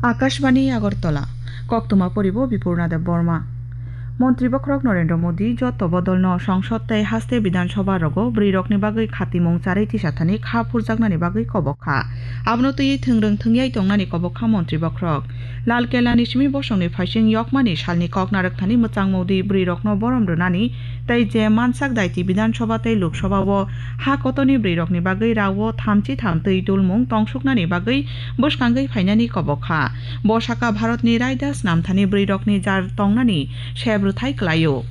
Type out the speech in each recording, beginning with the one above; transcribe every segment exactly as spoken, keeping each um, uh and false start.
Akashbani Agartala, koktwma poribo Bipurna Deb Borma. Montri bokhorok Narendra Modi joto bodolno Songsod tei haste Bidhan Sabha rogo bwrwirokni bagwi khatimung charwi tisathani kha phurjaknani bagwi kobok kha. Abono twiwi thwngrwng thwngyai tongnani kobok kha montri bokhorok. Lal Kela ni simi bosongni phaising yokmani salni kok narwkthani mwchangmung di bwrwirokno borom rwnani tei je mansak daiti Bidhan Sabha tei Lok Sabha o ha kotorni bwrwirokni bagwi rao thamchi tham twi dulmung tongsuknani bagwi bwskangwi phainani kobok kha. Bo saka Bharatni raida snamthani bwrwirokni jar tongnani seb rwthai kwlaio.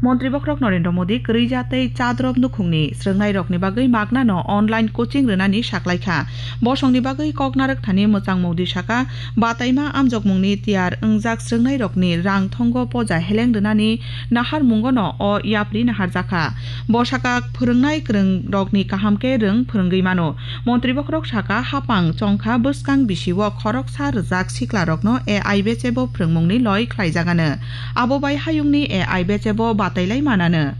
Montri bokhorok Narendra Modi kwrwi ja tei chadrop nukhungni srwngnairokni bagwi magnano online coaching rwnani saklaikha. Bosongni bagwi kok narwkthani mwchangmung di saka, bataima amjokmungni tiyar wngjak srwngnairokni rang thongo poja heleng rwnani naharmungono o yapri naharjakha. Bo saka, phwrwngnai kwrwngrokni kaham khe rwng phwrwngwi mano. Montri bokhorok saka, hapang chongkha bwskang bisio khoroksa rwjak siklarokno A I bechebo phwrwngmungni loi khlaijagano. Abo bai hayungni A I bechebo batailai manano.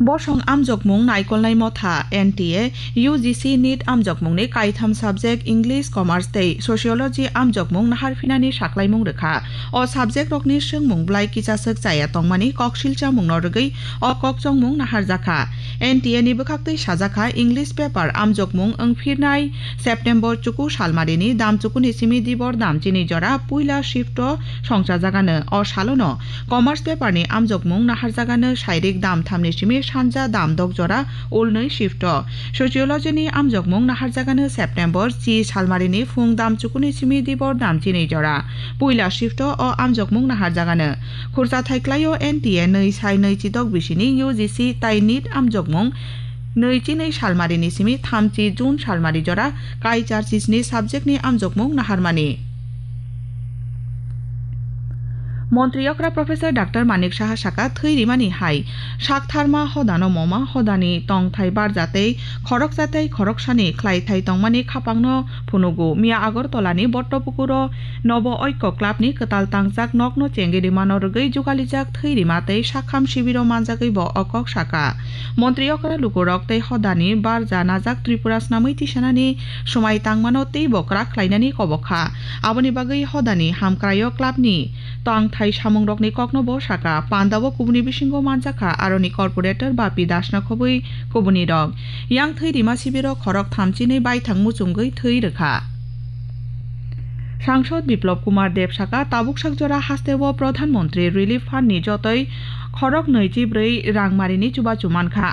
Bosong amjokmung naikolnai motha N T A U G C NEET amjokmungni kaitham subject English, Commerce tei Sociology amjokmung naharphinani saklaimung rwkha. O subject rokni swngmung bwlai kichaswk chaya tongmani koksil chamungno rwgwi o kokchongmung naharjakha. N T A ni bwkhaktwi sajakha English paper amjokmung wngphirnai September chuku salmarini dam chukuni simi dibor dam chini jora puila shift o songchajagano. O salono Commerce paper ni amjokmung naharjagano sairik dam thamni simi sanja dam dok jora ulnwi shift o. Sociology ni amjokmung naharjagano September chi salmarini phung dam chukuni simi dibor dam chini jora puila shift o. O amjokmung naharjagano. Khurcha thaiklaio N T A nwi sai nwi chidok bisini U G C tai NEET amjokmung nwi chi nwi salmarini simi thamchi June salmari jora kai char chisni subject ni amjokmung naharmani. Montri okra Professor Doctor Manik Saha saka, thwi rimani hai saktharma hodano moma hodani tongthai barja tei khoroksa tei khoroksani khlaithai tongmani khapangno phunugo. Miya Agartala ni Bottopukur o Nobo Oikko Club ni kwtal tangjak nokno chengwi rimano rwgwi jugalijak thwi rima tei sakham sibiro manjagwi bo o kok saka. Montri okra lukurok tei hodani barja najak Tripura snamwi tisanani swmai tangmano teibo kwrak khlainani kobok kha. Aboni bagwi hodani hamkraio club ni tangthai samungrokni kokno bo saka. Pandao kubuni bisingo manjakha aroni corporator Bapi Dasna khobwi kubunirok. Yang thwi rima sibiro khorok thamchinwi baithang muchungwi thwi rwkha. Sangsod Biplab Kumar Deb saka, tabuk sak jora hasteo Pradhan Mantri Relief Fund ni jotoi khorok nwi chi brwi rangmarini chubachu mankha.